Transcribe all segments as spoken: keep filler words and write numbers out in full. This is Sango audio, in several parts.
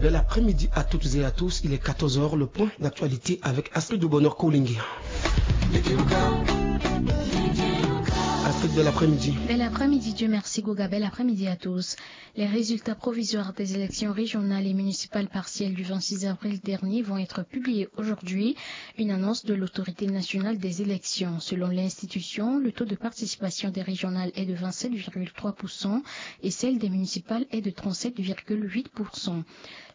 Bel après-midi à toutes et à tous, il est quatorze heures, le point d'actualité avec Astrid de Bonheur Kolingi. Astrid, bel après-midi. Bel après-midi, Dieu merci Goga, bel après-midi à tous. Les résultats provisoires des élections régionales et municipales partielles du vingt-six avril dernier vont être publiés aujourd'hui. Une annonce de l'Autorité nationale des élections. Selon l'institution, le taux de participation des régionales est de vingt-sept virgule trois pour cent et celle des municipales est de trente-sept virgule huit pour cent.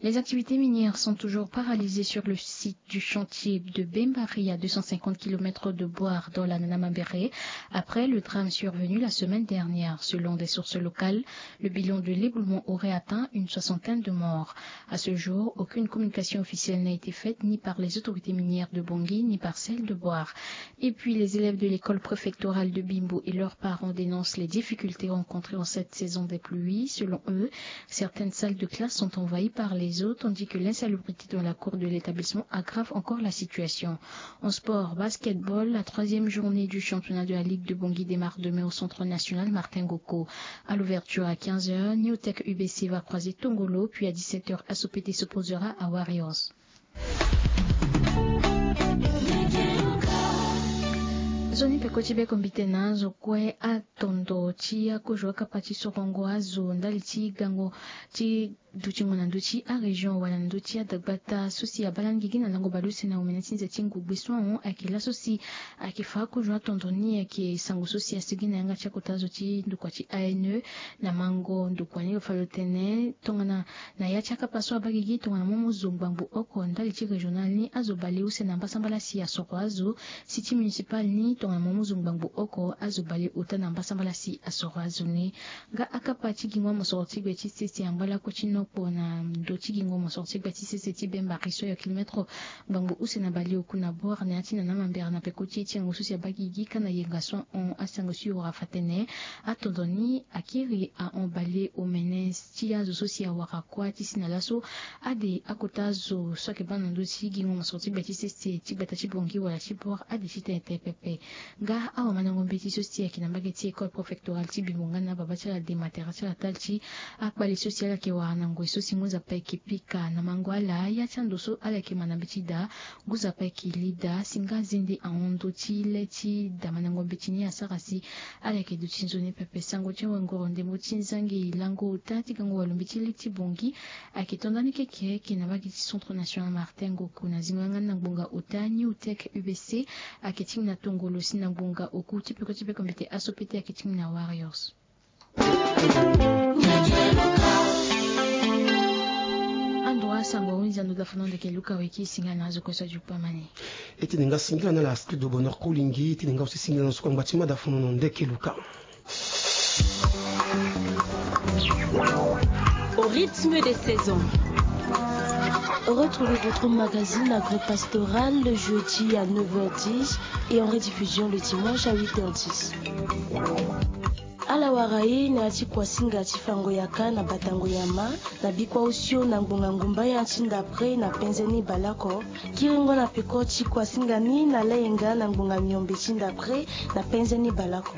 Les activités minières sont toujours paralysées sur le site du chantier de Bembari, à deux cent cinquante kilomètres de Bouar, dans la Namambéré, après le drame survenu la semaine dernière. Selon des sources locales, le bilan de l'éboulement aurait atteint une soixantaine de morts. À ce jour, aucune communication officielle n'a été faite ni par les autorités minières de Bangui ni par celles de Bouar. Et puis, les élèves de l'école préfectorale de Bimbo et leurs parents dénoncent les difficultés rencontrées en cette saison des pluies. Selon eux, certaines salles de classe sont envahies par les eaux, tandis que l'insalubrité dans la cour de l'établissement aggrave encore la situation. En sport, basketball, la troisième journée du championnat de la Ligue de Bangui démarre demain au Centre national Martin Ngoko. À l'ouverture à quinze heures, New Tech U B C va croiser Tongolo, puis à dix-sept heures, Asopete s'opposera à Warriors. Nzoni peko ti beko mbite na azo kue atondo ti akozo akapa ti sorongo azo ndali ti gango ti dutingo na ndö ti arégion wala na ndö ti adagbata so si abaa lani gigi na lango baleuse na omene ti nze ti ngu gbe so ahon ayeke laso si ayeke fa akozo atondo ni ayeke sango so si asigi na yanga ti akota azo ti ndokua ti A N E. Na mango ndokua ni lo fa lo tene tongana na ya ti akapa so abaa gigi tongana mo mu zo ngbangbo oko ndali ti régional ni azo baleuse na mbasambala si asoro azo. Site municipal ni tongana mo mu zo ngbangbo oko azo baleota na mbasambala si asoro azo ni. Nga akapa ti gingo amosoro ti gbe ti sese angba lakue ti nokpo na ndö ti gingo amosoro ti gbe ti sese ti Bembari so ayo kilomètre ngbangbo use na baleoku na Bouar na ya ti Namambéré na peko ti e ti yango so si abaa gigi ka na yenga so ahon asango so e wara fa tene atondo ni akiri ahon baleomene ti azo so si awara kuâ ti si na laso ade akota azo so ayeke baa na ndö ti gingo mosoro ti gbe ti sese ti gbata ti Bangui wala ti Bouar ade ti tene tene pepe. Nga awamandango mbeti so si ayeke na mbage ti école préfectorale ti Bimbo nga na ababa ti ala de matera ti ala tali ti akpale so si ala yeke wara na ngoi so si ngu nzapa ayeke pika na mango ala ya ti ando so ala yeke ma na mbeti daa. Ngu nzapa ayeke li daa si nga azende ahon ndö ti le ti damandango mbeti ni asara si ala yeke duti nzoni pepe. Sango ti wangoro ndembo ti nzangi lango ota ti gango walo mbeti le ti Bangui ayeke to ndani keke ayeke na mbage ti Centre national Martin Ngoko na zingo yanga ni na ngbonga ota New Tech U B C ayeke ti ngi na Tongolo si na ngbonga oku ti peko ti beko mbete Asopete ayeke ti ngi na Warriors. Ando asango ahunzi ando dafono ndeke luka weki singila na azo kue so ajuku amani. E tene nga singila na ala Astrid de Bonheur Kolingi, e tene nga aussi singila na soko angba ti mada fono na ndeke luka. Au rythme des saisons. Retrouvez votre magazine agro-pastoral le jeudi à neuf heures dix et en rediffusion le dimanche à huit heures dix. Ala wara ye na ya ti kuasinga ti fango yaka na batango nyama na bikua osio na ngbonga ngumbaya ti ndapre na penze ni baleoko. Kiringo na peko ti kuasinga ni na layenga na ngbonga miombe ti ndapre na penze ni baleoko.